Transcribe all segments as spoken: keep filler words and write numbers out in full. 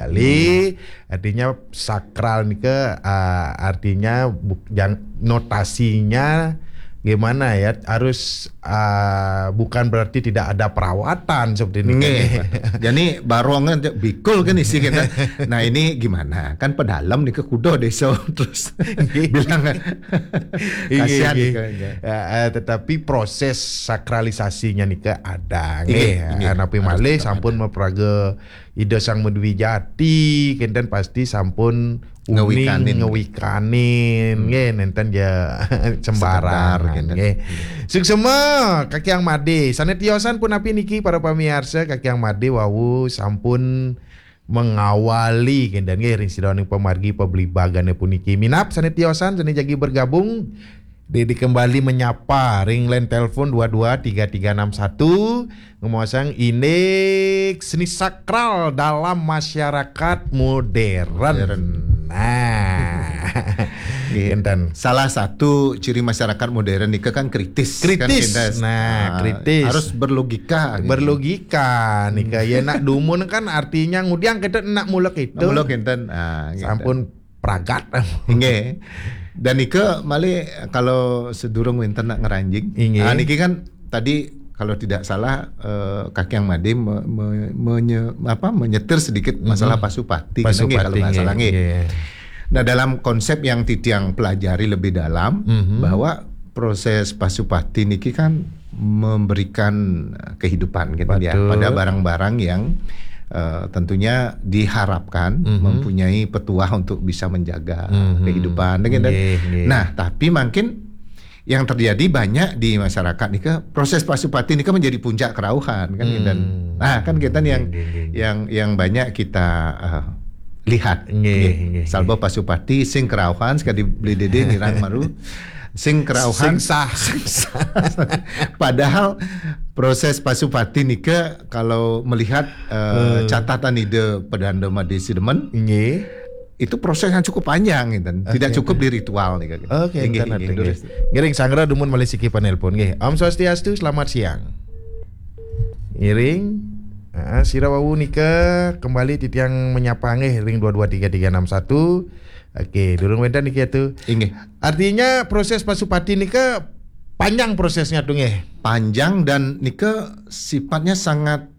Bali, artinya sakral nika, ah, artinya buk-, jang-, notasinya gimana ya, harus, ah, bukan berarti tidak ada perawatan seperti ini. Nggih. Jadi barong kan bikul kan isi kita. Nah, ini gimana? Kan pedalem nika kuda desa terus bilang kan. Iya, kasihan iya. Nika, ya. Ya, eh, tetapi proses sakralisasinya nika ada. Iya, nggih, iya. Napi malih sampun maperaga Ida Sang Madwijati, kenten pasti sampun uning ngewikanin, ngewikanin, nggih, nenten ja sembarang, nggih. Suksema, Kakiang Made. Sane tiosan punapi niki para pamiarsa, Kakiang Made wau sampun mengawali kenten nggih ring sidaning pamargi pabligbagan puniki. Minab sane tiosan, sane jagi bergabung, Dede kembali menyapa ring line telepon dua dua tiga tiga enam satu, ngemaosang indik seni sakral dalam masyarakat modern. Modern. Nah. Nggih. Kenten. Salah satu ciri masyarakat modern nika kan kritis, kan kritis. Nah, ah, kritis. Harus berlogika, gitu. Berlogika nika. Ya, nak dumun kan artinya ngudiang kita nak mulek itu. Nak mulek kenten. Ah, gitu. Sampun pragat. Nggih. Dan nika malih kalau sedurung wenten nak ngranjing. Inggih. Ah, niki kan tadi kalau tidak salah, eh, Kakiang Made me-, me-, menye-, apa, menyetir sedikit masalah Pasupati, kena nggih, kalau nggak salah, nggih. Nggih. Nah, dalam konsep yang titiang pelajari lebih dalam, bahwa proses Pasupati niki kan memberikan, eh, kehidupan gitu ya, betul, pada barang-barang yang, eh, tentunya diharapkan mempunyai petuah untuk bisa menjaga kehidupan, gitu. Nggih, nggih. Nah, tapi mungkin yang terjadi banyak di masyarakat nika, proses Pasupati nika menjadi puncak kerauhan, kan, dan, nah, kan kita yang, nggih, nggih, nggih, yang, yang banyak kita, eh, lihat. Nggih, nggih, nggih. Salba Pasupati sing kerauhan, sekali beli dede nyerang maru. Sing kerauhan. Sing sah. Sing sah. Padahal proses Pasupati nika kalau melihat, eh, catatan Ida Pedanda Made Sidemen, nggih, itu proses yang cukup panjang, gitu. Oke, oke. Tidak cukup di ritual nih, gitu. Oke, nggih, nggih, nggih, nggih. Ngiring sanggra dumun malih siki panelpon, nggih. Om Swastiastu, selamat siang. Ngiring, ah, sira wau nika kembali titiang menyapa nggih ring dua dua tiga tiga enam satu. Oke, durung wenten niki atu. Inggih. Artinya proses Pasupati nika panjang prosesnya tuh nggih. Panjang dan nika sifatnya sangat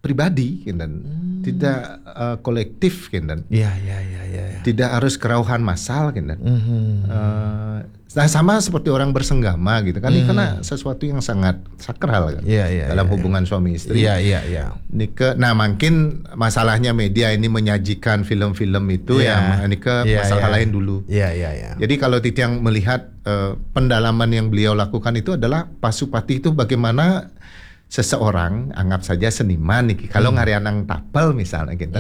pribadi, kenten. Tidak, eh, kolektif, kenten. Iya, iya, iya, iya, iya. Tidak harus kerauhan massal, kenten. Eh, nah, sama seperti orang bersenggama gitu kan. Ini karena sesuatu yang sangat sakral kan. Iya, iya, dalam hubungan suami istri. Iya, iya, iya. Nika, nah, mungkin masalahnya media ini menyajikan film-film itu ya, nika masalah lain dulu. Iya, iya, iya. Jadi kalau titiang melihat, eh, pendalaman yang beliau lakukan itu adalah Pasupati itu bagaimana seseorang, anggap saja seniman niki, kalau ngarianang tapel misalnya gitu,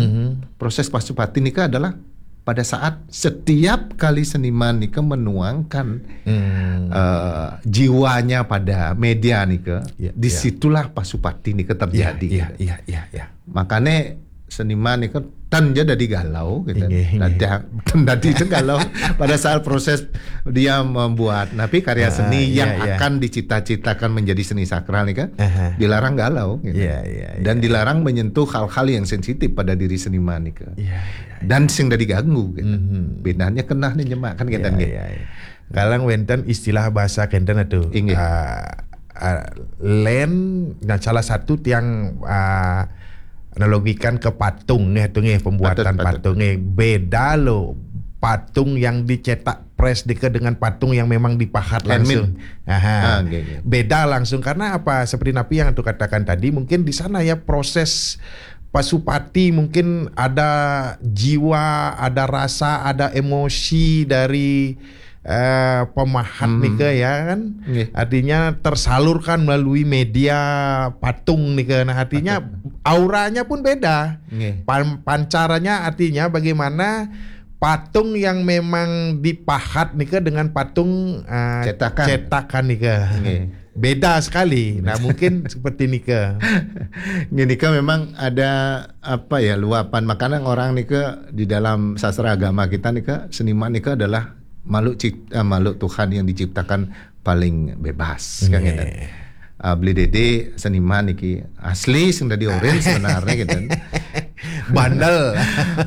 proses Pasupati nika adalah pada saat setiap kali seniman nika menuangkan, eh, jiwanya pada media nika, disitulah Pasupati nika terjadi. Iya, iya, iya, iya. Makanya seniman nika ten ja dadi galau gitu. Inggih, inggih. Dadi, ten dadi itu galau pada saat proses dia membuat. Tapi karya seni yang akan dicita-citakan menjadi seni sakral nih kan, dilarang galau gitu. Iya, iya, iya. Dan dilarang menyentuh hal-hal yang sensitif pada diri seniman nih kan. Iya, iya, iya. Dan sing dadi ganggu gitu. Bedanya kenah nih nyemak kan, gitu, iya, nggih. Iya, iya. Kalang wenten istilah bahasa kenten itu. Inggih. Ah, ah, len, nah, salah satu tiang, ah, analogikan ke patung nggih, itu nggih, pembuatan patung nggih. Beda loh patung yang dicetak press dike dengan patung yang memang dipahat langsung. Handmade. Aha. Ah, nggih, nggih. Beda langsung karena apa? Seperti napi yang aku katakan tadi, mungkin di sana ya proses Pasupati mungkin ada jiwa, ada rasa, ada emosi dari, eh, pemahat nika ya kan. Nggih. Artinya tersalurkan melalui media patung nika. Nah, artinya auranya pun beda. Nggih. Pan-, pancarannya artinya bagaimana patung yang memang dipahat nika dengan patung, eh, cetakan. Cetakan nika. Nggih. Beda sekali. Nah, mungkin seperti nika. Nggih, nika memang ada apa ya, luapan. Makanya orang nika di dalam sastra agama kita nika, seniman nika adalah makhluk cip-, eh, makhluk Tuhan yang diciptakan paling bebas, kan, nggih, gitu. Ah, beli dede seniman niki asli sing dadi orange sebenarnya gitu. Bandel.